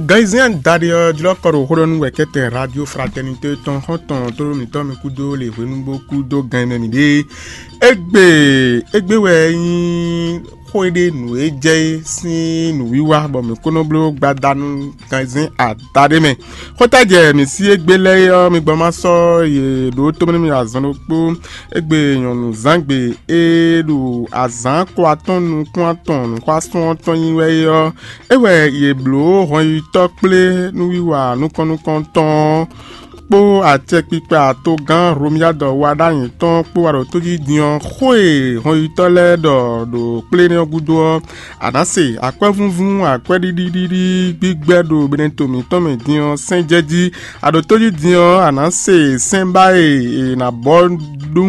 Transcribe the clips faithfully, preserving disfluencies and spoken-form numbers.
Gan e zɛ́n adaɖé ɔ́ jlɔ́ kɔ ɖo xó ɖɔ nú wɛ̌kɛ́tɛn Radio Fraternité tɔn xɔ́ntɔn tlóló mǐtɔn mì kúdó le hwenu bó kúdó gan e mɛ mǐ ɖe. Égbé égbé wɛ nyí xó e ɖe nǔ e jɛ é sín nǔwiwa bɔ mǐ kó nɔ bló gbadanu ganzɛ́n adaɖé mɛ. Xótajɛ mǐ sí égbé lɛ́ɛ é ɔ́, mi gbɔ má sɔ́ yě ɖó tómɛ nú mì azɔn ɖokpó. Égbé nyɔ̌nu zǎngbe e ɖo azǎn ko atɔn nukún atɔn nǔxwásún ɔ́ tɔn nyi wɛ é ɔ́, é wɛ yě bló hɔnnyitɔ́ kplé nǔwiwa nukɔn nukɔntɔn ɔ́ kpó acɛkpikpa togán Hlomyadɔ wa ɖ'ayǐ tɔn kpó wá ɖo tó jí din ɔ́, xó e hɔnnyitɔ́ lɛ́ɛ ɖɔ ɖo kplé énɛ́ ɔ́ gúdo ɔ́, a nǎ se akwɛ́vúnvún akwɛ́ɖiɖiɖiɖi gbígbɛ́ ɖo mɛɖɛto mǐtɔn mɛ din ɔ́ sɛ́n jɛ jí. A ɖo tó jí din ɔ́, a nǎ se sɛ́n ba e è nǎ bɔ ɖó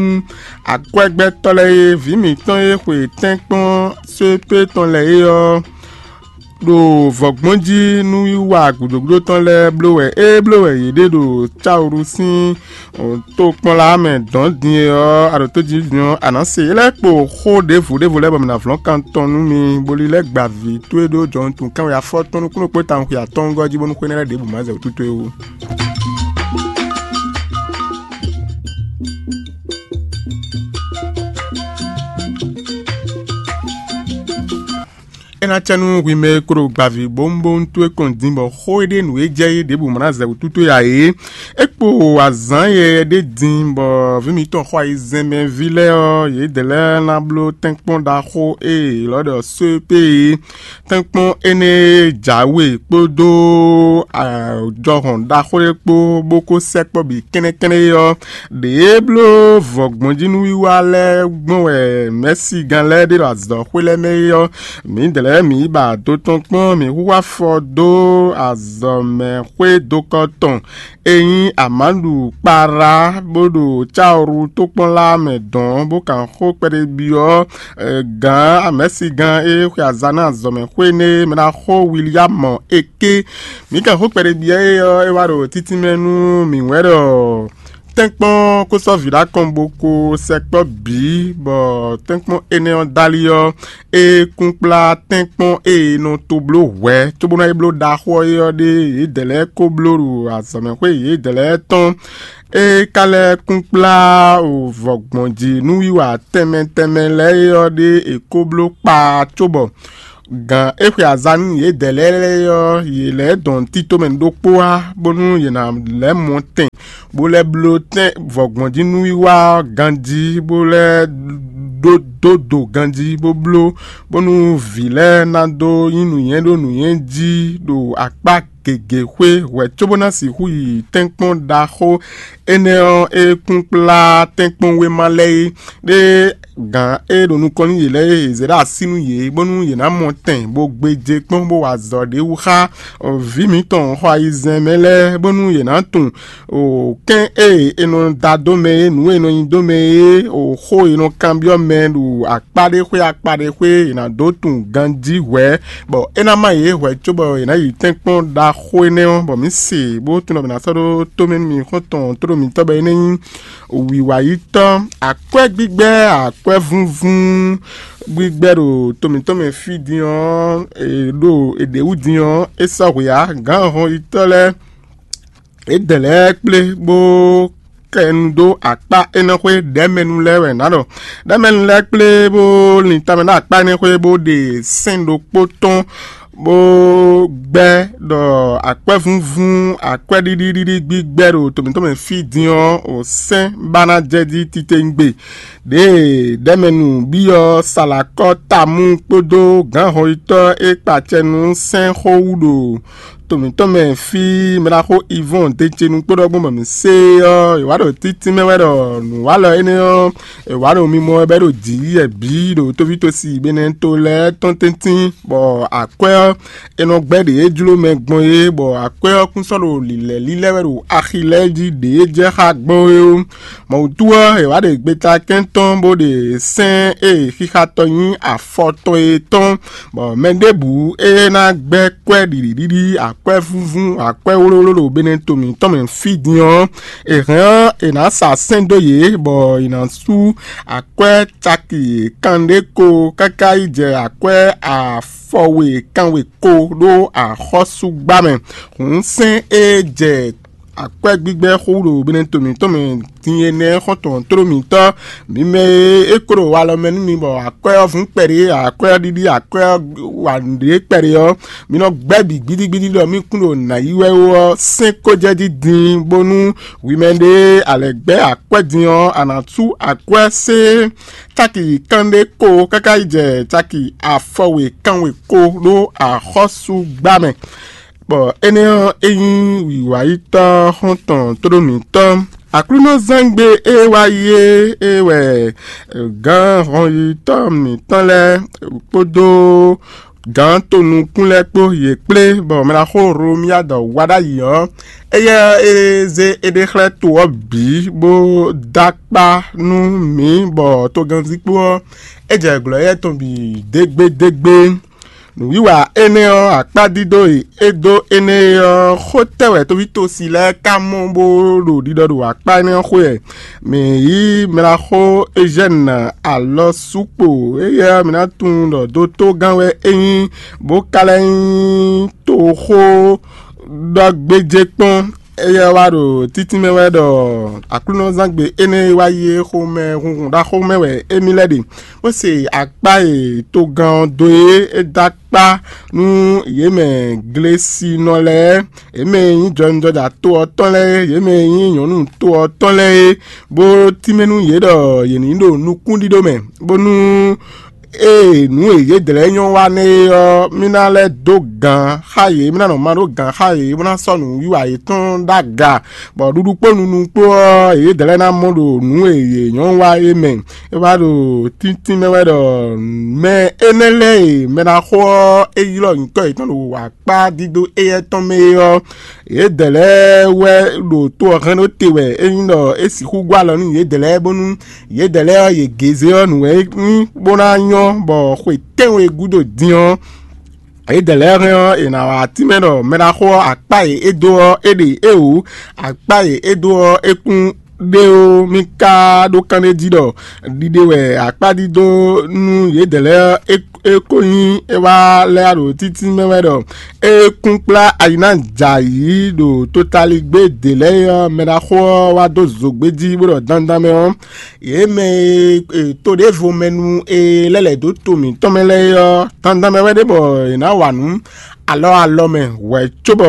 akwɛ́gbɛ́tɔ́ lɛ́ɛ é, vǐ mǐtɔn e xwe tɛ́nkpɔ́n sépé tɔn lɛ́ɛ é ɔ́, ɖo vɔ̌gbɔn jí nú wiwa gǔdo gúdo tɔn lɛ́ɛ bló wɛ é bló wɛ yě ɖe ɖo Cawlu sín tokpɔnla mɛ dɔ̌n din é ɔ́, a ɖo tó jí din ɔ́, a nǎ se é lɛ́ɛ kpo xó ɖěvo ɖěvo lɛ́ɛ bɔ mǐ ná vlɔ́n kan tɔn nú mi, bó lílɛ́ gba vǐ towe ɖó jɔhɔn tunwun kánwe afɔtɔn nukúnnú kpó tawun xwe atɔ́ɔ́ngɔ́ jí bónú xwé énɛ́ lɛ́ɛ ɖěbǔ má zɛ wǔ tútú é wú. É ná cɛ nú hwi mɛ e klo gbaví bówúnbówún towe kɔn din bɔ xó e ɖe nǔ e jɛ é ɖěbǔ mlá zɛ wútu towe ǎ é. É kpo azǎn yɛyɛ ɖé din bɔ vǐ mǐtɔn xɔ ayizɛ́nmɛví lɛ́ɛ ɔ́, yědɛɛ lɛ́ɛ ná bló tɛ́nkpɔ́n ɖaxó e è ylɔ́ ɖɔ sóepé é. Tɛ́nkpɔ́n énɛ́ e jǎwe kpódó jɔhɔn ɖaxó e kpó bó kó sɛkpɔ́ bǐ kɛ́nnɛ́kɛ́nnɛ́ é ɔ́, ɖě e bló vɔ̌gbɔnjínúwiwa lɛ́ɛ gbɔn wɛ mɛ̌sigán lɛ́ɛ ɖe ɖo azɔ̌xwé lɛ́ɛ mɛ é ɔ́, mǐdɛɛ lɛ́ɛ mǐ yi ba do tɔn kpɔ́n, mǐ hu afɔ dó azɔ̌mɛxwé dokɔ tɔn e nyí Amadu Kpara, bó ɖo Cawru tókpɔ́nla mɛ dɔn, bó kan xó kpɛɖé byɔ́ gǎn amɛ̌sigán e xwe azǎn ná azɔ̌mɛxwé énɛ́ e mɛ ná xó William Eke. Mǐ kan xó kpɛɖé byɔ́ é ɔ́, é wá ɖo títínmɛ nú mǐ wɛ ɖɔ tɛ́nkpɔ́n kó sɔ́ vǐ ɖó akɔn bó kó sɛkpɔ́ bǐ, bɔ tɛ́nkpɔ́n énɛ́ ɔ́ dali ɔ́, é kún kplá tɛ́nkpɔ́n e è nɔ to bló hwɛ̌ cóbónɔ é bló ɖaxó ɔ́ é ɔ́ ɖe yědɛɛ lɛ́ɛ kó bló ɖo azɔ̌mɛxwé yědɛɛ lɛ́ɛ tɔn. É ka lɛ́ kún kplá vɔ̌gbɔnjí nǔwiwa tɛnmɛ tɛnmɛ lɛ́ɛ é ɔ́ ɖe è kó bló kpaa cóbɔ gǎn e xwe azǎn nú yědɛɛ lɛ́ɛ ɔ́, yě lɛ́ dɔn tito mɛ ɖokpó wá, bónú yě ná lɛ́ mɔ tɛn, bó lɛ́ bló tɛn vɔ̌gbɔnjí nǔwiwa ɔ́ ganjí, bó lɛ́ ɖó dó do ganjí, bó bló, bónú vǐ lɛ́ɛ ná dó nyí nǔnywɛ́ ɖó nǔnywɛ́ jí ɖo akpá gěgé xwé hwɛ̌ cóbó ná sixú yi tɛ́nkpɔ́n ɖaxó énɛ́ ɔ́ e kún kplá tɛ́nkpɔ́n wéma lɛ́ɛ é. Ɖé gǎn e ɖo nukɔn nú yě lɛ́ɛ é, è zě ɖó así nú yě, bónú yě ná mɔ tɛn, bó gbéjé kpɔ́n, bó wa azɔ̌ ɖé wú xá vǐ mǐtɔn xɔ ayizɛ́n mɛ lɛ́ɛ, bónú yě ná tunwun kɛ́n e è nɔ da dó mɛ é, nǔ e è nɔ nyi dó mɛ é, xó e è nɔ kanbyɔ́ mɛ ɖo akpá ɖé xwé akpá ɖé xwé, è nǎ dó tunwun ganjí hwɛ̌, bɔ é ná má yě hwɛ̌ cóbɔ è nǎ yi tɛ́nkpɔ́n ɖaxó énɛ́ ɔ́, bɔ mǐ se bó tunwun ɖɔ mǐ ná sɔ́ ɖó tómɛ nú mi xɔ́ntɔn tlóló mǐtɔn bɔ é ná nyí wǐwayítɔ́, akwɛ́ gbígbɛ́, akwɛ́ vúnvún gbígbɛ́ ɖo to mǐtɔn mɛ fí din ɔ́, è ɖo è ɖě wú din ɔ́, é sɔ́ hwe ǎ. Gǎn hɔnyitɔ́ lɛ́ɛ, yědɛɛ lɛ́ɛ kplé bó kɛ nu dó akpá énɛ́ xwé ɖɛ̌mɛnu lɛ́ɛ wɛ nǎ ɖɔ. Ɖɛ̌mɛnu lɛ́ɛ kplé bó lin tamɛ ɖó akpá énɛ́ xwé bó ɖe sɛ́n ɖokpó tɔn bó gbɛ́ ɖɔ akwɛ́vúnvún akwɛ́ɖiɖiɖiɖi gbígbɛ́ ɖo to mǐtɔn mɛ fí din ɔ́, o sɛ́n ba ná jɛ jí titewungbe. Ɖěe ɖɛ̌mɛnu byɔ́ Salakɔ́ Tamú kpódó gǎn hɔnyitɔ́ e kpa acɛ nú sɛ́n xó wú ɖo to mǐtɔn mɛ fí mɛɖaxó Ivɔ́n Decenu kpó ɖɔ gbɔn bɔ mǐ se ɔ́, è wǎ ɖo títínmɛ wɛ ɖɔ nǔwalɔ énɛ́ ɔ́, è wǎ ɖo mimɔ wɛ bɔ é ɖo jǐ yɛ bǐ ɖo tóvítósi Benɛto lɛ́ɛ tɔn tɛ́ntin, bɔ akwɛ́ ɔ́, è nɔ gbɛ́ ɖě e jló mɛ gbɔn é, bɔ akwɛ́ ɔ́ kún sɔ́ ɖo lǐlɛ́ lílɛ́ wɛ ɖo axi lɛ́ɛ jí ɖě e jɛ xá gbɔn é ó. Mɔ̌ wútu ɔ́, è wǎ ɖe gbeta kɛ́ntɔn bó ɖe sɛ́n e xixa tɔn nyí afɔ tɔn é tɔn, bɔ mɛ ɖěbǔ e ná gbɛ́ kwɛ́ ɖiɖiɖiɖi akwɛ́vúvún, akwɛ́ wlówló ɖo Benɛto mǐtɔn mɛ fí din ɔ́, è hɛn ɔ́, è nǎ sa sɛ́n dó yě, bɔ è nǎ sú akwɛ́ caki kanɖé ko káká yi jɛ akwɛ́ afɔwe kanwe ko ɖó axɔ́súgbá mɛ. Hǔn sɛ́n e jɛ akwɛ́ gbígbɛ́ xó ɖo Benɛto mǐtɔn mɛ din énɛ́ xɔ́ntɔn tló mǐtɔn, mi mɛ e é kó ɖo walɔ mɛ nú mi, bɔ akwɛ́ ɔ́ vún kpɛɖé, akwɛ́ ɔ́ ɖiɖi, akwɛ́ ɔ́ wa nǔɖé kpɛɖé ɔ́, mi nɔ gbɛ́ bǐ gbídígbídí ɖɔ mì kún ɖo nǎ yi wɛ ó ɔ́, sɛ́n ko jɛ jí din, bónú hwi mɛ ɖé a lɛ̌ gbɛ́ akwɛ́ din ɔ́, a nǎ sú akwɛ́ sé caki kanɖé ko káká yi jɛ caki afɔwe kanwe ko ɖó axɔ́súgbá mɛ. Bɔ énɛ́ ɔ́, é nyí wǐwáyítɔ́ xɔ́ntɔn tóɖó mǐtɔn. Aklúnɔzángbe e wá yi é, é wɛ gǎn hɔnyitɔ́ mǐtɔn lɛ́ɛ kpódó gǎn tonukún lɛ́ɛ kpó yě kplé, bɔ mɛɖaxó Hlomia dɔ wá ɖ'ayǐ ɔ́, éyɛ́ e zé éɖée xlɛ́ to ɔ́ bǐ, bó dó akpá nú mǐ, bɔ togannzikpó ɔ́, é jɛ glɔ̌ éyɛ́ tɔn bǐ dégbédégbé. Nǔwiwa énɛ́ ɔ́, akpá dídó e é dó énɛ́ é ɔ́, xó tɛ́ wɛ tovítɔ́si lɛ́ɛ ka mɔ bó ɖo ɖiɖɔ ɖo akpá énɛ́ ɔ́ xwé wɛ. Mǐ yí mlaxó Ezyɛ́ni alɔ sukpo, éyɛ́ mǐ ná tunwun ɖɔ dotogán wɛ é nyí, bó ka lɛ́ nyí toxó ɖɔ gbéjé kpɔ́n. Éyɛ́ wá ɖo títínmɛ wɛ ɖɔ Aklúnɔzángbe énɛ́ e wá yi é xomɛ hunhun ɖaxó mɛ wɛ émí lɛ́ ɖe, bó se akpá e togán ɔ́ dó é é dó akpá nú yě mɛ Glesinɔ lɛ́ɛ, yě mɛ e nyí jɔwunjɔja to ɔ́ tɔn lɛ́ɛ é, yě mɛ e nyí nyɔ̌nu to ɔ́ tɔn lɛ́ɛ é, bó tínmɛ nú yě ɖɔ yě ní ɖo nukúnɖíɖó mɛ, bónú ée nǔ e yědɛɛ lɛ́ɛ nyɔ́ wa nɛ́ é ɔ́, mì ná lɛ́ dó gǎn xá yě, mì ná nɔ ma ɖó gǎn xá yě, bó ná sɔ́ nǔwiwa yětɔn ɖó aga, bɔ ɖuɖu kpó nunu kpó ɔ́, yědɛɛ lɛ́ɛ ná mɔ ɖo nǔ e yě nyɔ́ wa é mɛ. É wá ɖo tíntín mɛ wɛ ɖɔ mɛ énɛ́ lɛ́ɛ e mɛ ná xo ɔ́, é ylɔ́ nyǐkɔ yětɔn ɖo akpá dídó éyɛ́ tɔn mɛ é ɔ́, yědɛɛ lɛ́ɛ wɛ ɖo to ɔ́ hɛn ɖó te wɛ é nyí ɖɔ é sixú gɔ́ alɔ nú yědɛɛ lɛ́ɛ, bónú yědɛɛ lɛ́ɛ ɔ́, yě gézé ɔ́ nǔ wɛ é nyí bó ná nyɔ́, bɔ xwe tɛ́nwe gúdo din ɔ́, yědɛɛ lɛ́ɛ hɛn ɔ́, è nǎ wá tínmɛ ɖɔ mɛɖaxó ɔ́, akpá e é dó ɔ́, é ɖe éwǔ, akpá e é dó ɔ́, é kún ɖé ó. Mì ka ɖó kanɖéjí ɖɔ ɖiɖe wɛ akpá dídó nú yědɛɛ lɛ́ɛ ɔ́, é é ko nyí é wá lɛ́ ɖo títí mɛ wɛ ɖɔ é kún kplá ayi ná jɛ ayǐ ɖo totaligbé ɖě lɛ́ɛ ɔ́, mɛɖaxó ɔ́ wá dó zǒgbé jí bó ɖɔ dandan mɛ ɔ́, yě mɛ e to ɖěvo mɛ nu e lɛ́ lɛ̌ dó to mǐtɔn mɛ lɛ́ɛ é ɔ́, dandan mɛ wɛ ɖé bɔ è nǎ wa nǔ alɔ alɔ mɛ hwɛ̌ cóbɔ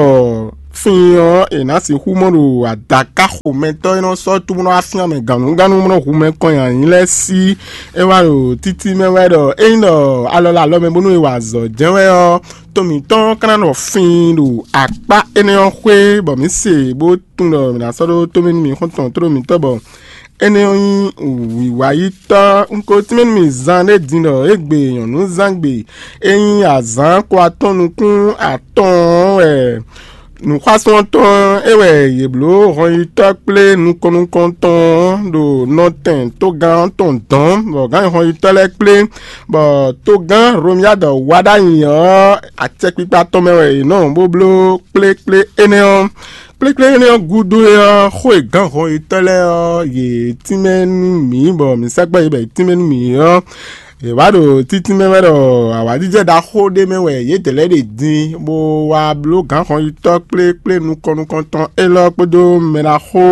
fín ɔ́, è nǎ sixú mɔ ɖo adǎká xomɛtɔ́ e nɔ sɔ́ túmúɖɔ afín mɛ gǎnnugánnu mɔ hu mɛ kɔn nyi ayǐ lɛ́ɛ sí. É wá ɖo títí mɛ wɛ ɖɔ ényí ɖɔ alɔ lɛ alɔ mɛ bónú è wa azɔ̌ jɛ́n wɛ ɔ́, to mǐtɔn ka ná nɔ fin ɖo akpá énɛ́ ɔ́ xwé, bɔ mǐ se bó tunwun ɖɔ mǐ ná sɔ́ ɖó tó mɛ nú mǐ xɔ́ntɔn tlóló mǐtɔn bɔ énɛ́ ɔ́ nyí wǐwáyítɔ́. Un ko tínmɛ nú mì zan ɖé din ɖɔ égbé nyɔ̌núzángbe e nyí azǎn ko atɔ́ɔ́n nukún atɔ́ɔ́n wɛ nǔxwásún ɔ́ tɔn é wɛ yě bló hɔnyitɔ́ kplé nukɔn nukɔntɔn ɖo nɔtɛn togán ɔ́ tɔn dɔ̌n, bɔ gǎn hɔnyitɔ́ lɛ́ɛ kplé, bɔ togán Hlomyád wá ɖ'ayǐ ɔ́, acɛkpikpa tɔn mɛ wɛ yě nɔ bó bló kplékplé énɛ́ ɔ́. Kplékplé énɛ́ ɔ́ gúdo é ɔ́, xó e gǎn hɔnyitɔ́ lɛ́ɛ ɔ́, yě tínmɛ nú mǐ, bɔ mǐ sɛkpɔ́ yě bɔ yě tínmɛ nú mǐ ɔ́, yě wá ɖo títínmɛ wɛ ɖɔ awǎjijɛ ɖaxó ɖé mɛ wɛ yědɛɛ lɛ́ɛ ɖe din, bó wá bló gǎn hɔnyitɔ́ kplékplé nukɔn nukɔntɔn élɔ́ kpódó mɛ ɖaxó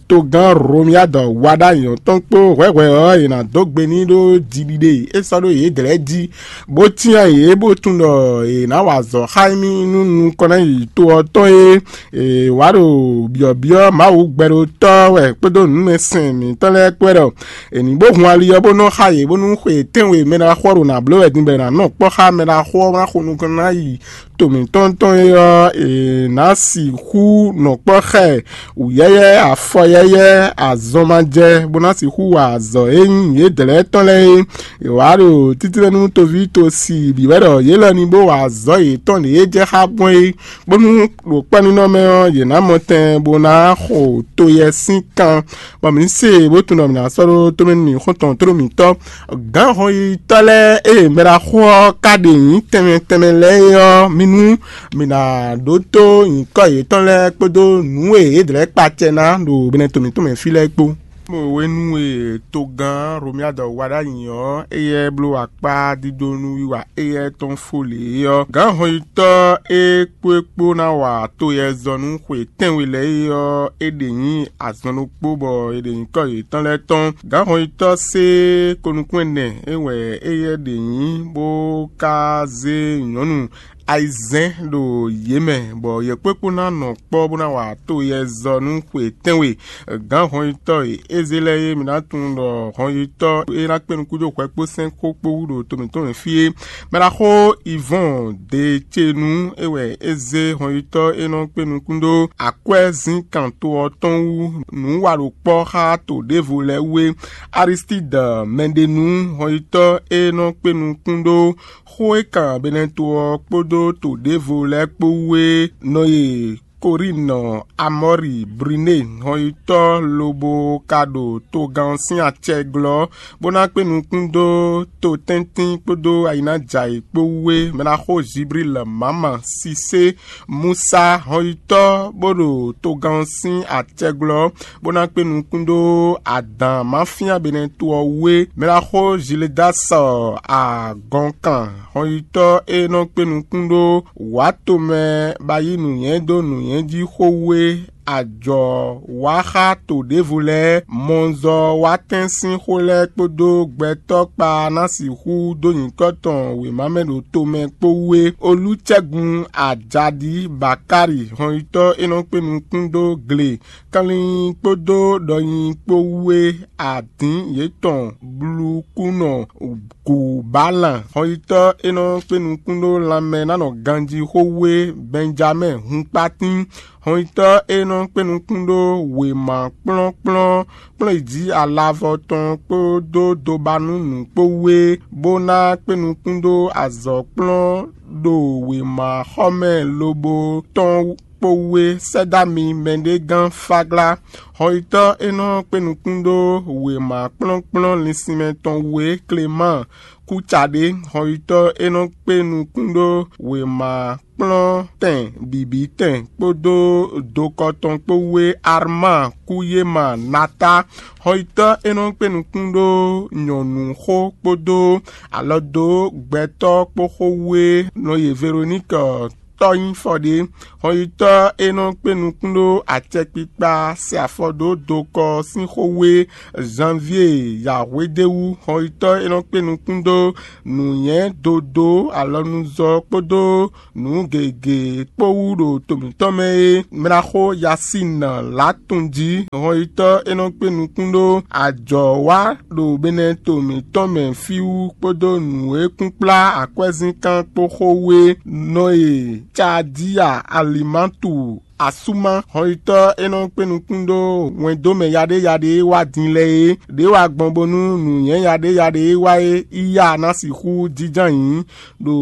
togán Hlomyád wá ɖ'ayǐ ɔ́ tɔn kpó hwɛ̌hwɛ́ ɔ́, è nǎ dó gbe n'i ɖó jiɖiɖe e é sɔ́ ɖó yědɛɛ lɛ́ɛ jí, bó cyán yě, bó tunwun ɖɔ è nǎ wa azɔ̌ xá émí nú nukɔn ná yi to ɔ́ tɔn é. È wǎ ɖo byɔ̌byɔ́ Mawu gbɛɖótɔ́ wɛ kpódó nǔmɛsɛn mǐtɔn lɛ́ɛ kpó wɛ ɖɔ è nǐ bó hun ali ɔ́ bó nɔ xá yě, bónú xwe tɛ́nwe mɛ ɖaxó ɔ́ ɖo nǎ bló wɛ din bɔ è nǎ nɔ kpɔ́ xá mɛ ɖaxó ɔ́ bó ná xo nukɔn ná yi to mǐtɔn tɔn é ɔ́, è nǎ sixú nɔ kpɔ́ xá ɛ wǔyɛ́yɛ́, afɔyɛ́yɛ́, azɔnmajɛ, bó ná sixú wa azɔ̌ e nyí yědɛɛ lɛ́ɛ tɔn lɛ́ɛ é. È wǎ ɖo títlɛ́nú toví tosi bǐ wɛ ɖɔ yě lɔ ní bó wa azɔ̌ yětɔn ɖě é jɛ xá gbɔn é, bónú ɖo kpɔ́nínɔ mɛ ɔ́, yě ná mɔ tɛn bó ná xo to yɛ sín kan, bɔ mǐ se bó tunwun ɖɔ mǐ ná sɔ́ ɖó tómɛ nú mǐ xɔ́ntɔn tlóló mǐtɔn gǎn Xɔyitɔ́ lɛ́ɛ e mɛɖaxó ɔ́ ka ɖe nyǐ tɛnmɛ tɛnmɛ lɛ́ɛ é ɔ́, mi nú mǐ ná ɖótó nyǐkɔ yětɔn lɛ́ɛ kpódó nǔ e yě dlɛ̌ kpa acɛ ná ɖo mɛnɛ to mǐtɔn mɛ fí lɛ́ɛ kpó. Mo hwenu e togán Romiadɔ wa ɖ'ayǐ ɔ́, éyɛ́ bló akpá dídónú wiwa éyɛ́ tɔn fó lě ɔ́, gǎn hɔnyitɔ́ e kpó é kpó ná wa to yɛzɔ́nú xwe tɛ́nwe lɛ́ɛ é ɔ́, é ɖe nyǐ azɔn ɖokpó bɔ è ɖe nyǐkɔ yětɔn lɛ́ɛ tɔn. Gǎn hɔnyitɔ́ sé konukún ɛnɛ é wɛ éyɛ́ ɖe nyǐ bó ka zé nyɔ̌nu ayizɛ́n ɖo yě mɛ, bɔ yě kpó é kpó ná nɔ kpɔ́ bó ná wa to yɛzɔ́nú xwe tɛ́nwe. Gǎn hɔnyitɔ́ e é zé lɛ́ɛ é, mǐ ná tunwun ɖɔ hɔnyitɔ́ e ná kpé nukún dó hwɛ kpó sɛ́n xó kpó wú ɖo to mǐtɔn mɛ fí é. Mɛɖaxó Ivɔ́n Decenu é wɛ é zé hɔnyitɔ́ e nɔ kpé nukún dó akwɛ́zínkan to ɔ́ tɔn wú nǔ wa ɖo kpɔ́ xá to ɖěvo lɛ́ɛ wú é. Aristídɔ mɛɖenu hɔnyitɔ́ e nɔ kpé nukún ɖó xó e kan Beneto ɔ́ kpódó to ɖěvo lɛ́ɛ kpó wú é nɔ e Korinɔ Amɔ́ri Briné hɔnyitɔ́ lobo ka ɖo togán ɔ́ sín acɛ glɔ́, bó ná kpé nukún dó to tɛ́ntin kpódó ayǐnájǎyi kpó wú é. Mɛɖaxó Ziblíl Mǎma Sisé Musa hɔnyitɔ́ bó ɖo togán ɔ́ sín acɛ glɔ́, bó ná kpé nukún dó adǎn ma fíán Beneto ɔ́ wú é. Mɛɖaxó Ziledásɔ agɔnkan hɔnyitɔ́ e nɔ kpé nukún ɖó wǎ tomɛ ba yí nǔnywɛ́ dó nǔnywɛ́ jí xó wú é, ajɔ wá xá to ɖěvo lɛ́ɛ, mɔzɔ wá tɛ́n sín xó lɛ́ɛ kpódó gbɛtɔ́ kpa ná sixú dó nyǐkɔ tɔn wěma mɛ ɖo tomɛ kpó wú é. Olúcɛ́gun Ajaɖi Bakári hɔnyitɔ́ e nɔ kpé nukún dó gle kanlin kpódó ɖɔnyi kpó wú é, adǐn yětɔn blukúnɔ Gǔbalan hɔnyitɔ́ e nɔ kpé nukún ɖó lanmɛ ná nɔ ganjí xó wú é, Bɛnjamɛ́ɛ hunkpatín hɔnyitɔ́ e nɔ kpé nukún ɖó wěma kplɔ́nkplɔ́n kplɔ́n yi jí alavɔ tɔn kpódó dobanú nǔ kpó wú é, bó ná kpé nukún ɖó azɔ̌ kplɔ́n ɖo wěma xɔ mɛ lobo tɔn kpó wú é. Sɛ́ dó ami mɛɖé gán Fáglá hɔnyitɔ́ e nɔ kpé nukún ɖó wěma kplɔ́nkplɔ́n linsinmɛ tɔn wú é, Klemáan Kúcaɖé hɔnyitɔ́ e nɔ kpé nukún ɖó wěma kplɔ́n tɛn bǐbí tɛn kpódó dokɔ tɔn kpó wú é, Armáa Kúyéma Natá hɔnyitɔ́ e nɔ kpé nukún ɖó nyɔ̌nu xó kpódó alɔ dó gbɛtɔ́ kpó xó wú é, nɔ ye Veroníkɛ tɔ́nyífɔ ɖé. Hɔnyitɔ́ e nɔ kpé nukún ɖó acɛkpikpa se afɔ dó dokɔ sín xó wú é, Zanvíe yǎhwédéwú hɔnyitɔ́ e nɔ kpé nukún ɖó nǔnywɛ́ dodó alɔnuzɔ́ kpódó nǔ gěgé kpó wú ɖo to mǐtɔn mɛ é, mɛɖaxó Yasín Latúnjí hɔnyitɔ́ e nɔ kpé nukún ɖó ajɔ̌ wa ɖo Beneto mǐtɔn mɛ fí wú kpódó nǔ e kún kplá akwɛ́zínkán kpó xó wú é, nɔ e Cadíya Alimatu Asúma hɔnyitɔ́ e nɔ kpé nukún ɖó wɛndómɛ yaɖéyaɖé e wá din lɛ́ɛ é, ɖě wá gbɔn bónú nǔnywɛ́ yaɖéyaɖé e wá é yi ya ná sixú jínjɔ́n ayǐ ɖo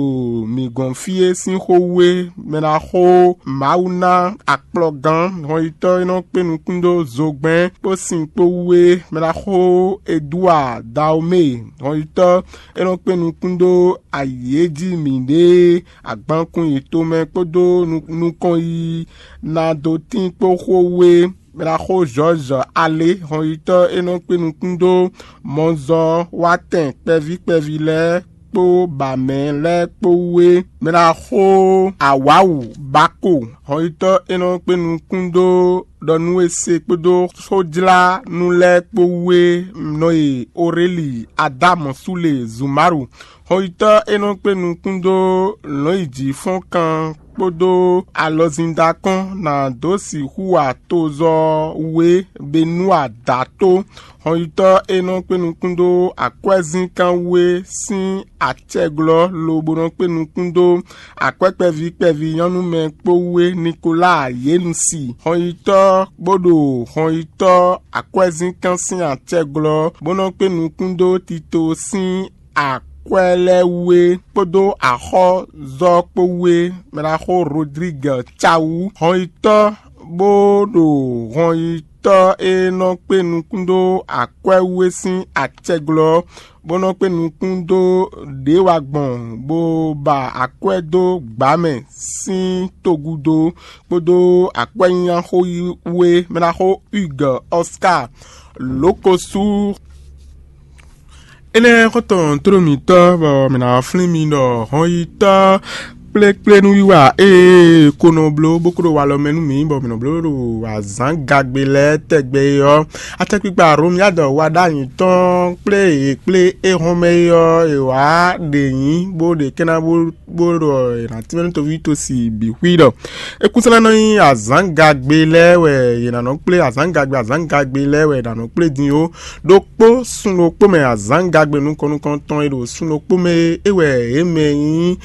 mǐ gɔ́n fí é sín xó wú é. Mɛɖaxó Mawu ná akplɔgán hɔnyitɔ́ e nɔ kpé nukún ɖó zogbɛ́n kpó sin kpó wú é, mɛɖaxó Eduwa Daomée hɔnyitɔ́ e nɔ kpé nukún ɖó ayǐ e jí mǐɖée agbankun yětɔn kpódó nukɔn yiyi ná dó tín kpó xó wú é. Mɛɖaxó Zɔ́ɔzɔ Alé hɔnyitɔ́ e nɔ kpé nukún ɖó mɔzɔ́ wátɛn kpɛví kpɛví lɛ́ɛ kpó bǎmɛ lɛ́ɛ kpó wú é. Mɛɖaxó Awǎwu Bako hɔnyitɔ́ e nɔ kpé nukún ɖó ɖɔ nú we se kpódó xójlánú lɛ́ɛ kpó wú é, nɔ e Oréli Adámu Súle Zumaru hɔnyitɔ́ e nɔ kpé nukún dó lɔ̌nyijǐfɔ́nkan kpódó alɔzíndakɔ́n ná dó sixú wa tozɔ́ wú é, Benúa Dato hɔnyitɔ́ e nɔ kpé nukún dó akwɛ́zínkán wú é sín acɛglɔ́ lobo nɔ kpé nukún dó akwɛ́ kpɛví kpɛví nyɔ́númɛ kpó wú é, Nikolaa Yenusi hɔnyitɔ́ bó ɖo hɔnyitɔ́ akwɛ́zínkán sín acɛglɔ́ bó nɔ kpé nukún dó Tito sín akwɛ́ lɛ́ɛ wú é kpódó axɔ́zɔ́ kpó wú é, mɛɖaxó Rodrigue Cawu hɔnyitɔ́ bó ɖo hɔnyi tɔ́ e nɔ kpé nukún dó akwɛ́ wú é sín acɛglɔ́, bó nɔ kpé nukún dó ɖě wa gbɔn, bó ba akwɛ́ dó gbǎ mɛ sín togúdo, kpódó akwɛ́nyínyáxó wú é mɛ ná xó Hugues Oscar Lókosú. Énɛ́ xɔ́ntɔn tló mǐtɔn bɔ mǐ ná flín mi ɖɔ hɔnyitɔ́ kplékplénúwiwa e ko nɔ bló bó kó ɖo walɔ mɛ nú mǐ, bɔ mǐ nɔ bló ɖo azǎngagbe lɛ́ɛ tɛgbɛ é ɔ́, atɛkpikpa Hlomyádu wa ɖó anyǐ tɔn kplé e kplé é hɔn mɛ é ɔ́, è wǎ ɖě nyí bó ɖe kɛ́ ná bó bó ɖɔ è nǎ tínmɛ nú toví tosi bǐ xwí ɖɔ é kún sɔ́ ná nɔ nyí azǎngagbe lɛ́ɛ wɛ è nǎ nɔ kplé, azǎngagbe azǎngagbe lɛ́ɛ wɛ è nǎ nɔ kplé din ó. Ɖokpó sun ɖokpó mɛ azǎngagbe nukɔn nukɔntɔn e ɖo sun ɖokpó mɛ é wɛ é mɛ nyí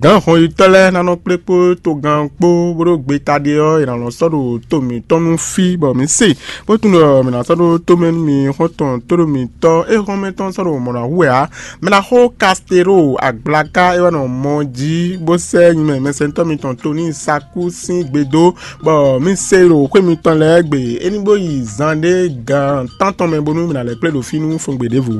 gǎn hɔnyitɔ́ lɛ́ɛ ná nɔ kplé kpó togán kpó, bó ɖó gbeta ɖe ɔ́, è nǎ nɔ sɔ́ ɖo to mǐtɔn nú fí, bɔ mǐ se bó tunwun ɖɔ mǐ ná sɔ́ ɖó tomɛ nú mi xɔ́ntɔn tóɖó mǐtɔn e hɔn mɛ tɔn sɔ́ ɖo mɔ̌ ná hu wɛ ǎ. Mɛ ná xó Kastero agblaka é wɛ nɔ mɔ jí bó sɛ́ nyi mɛ mɛsɛntɔ́ mitɔn Toníi Sakú sín gbe dó, bɔ mǐ se ɖo xwé mitɔn lɛ́ɛ gbe é ní bó yi zan ɖé gan tántɔn mɛ bónú mǐ ná lɛ́ kplé ɖo fí nú fɔngbe ɖěvo.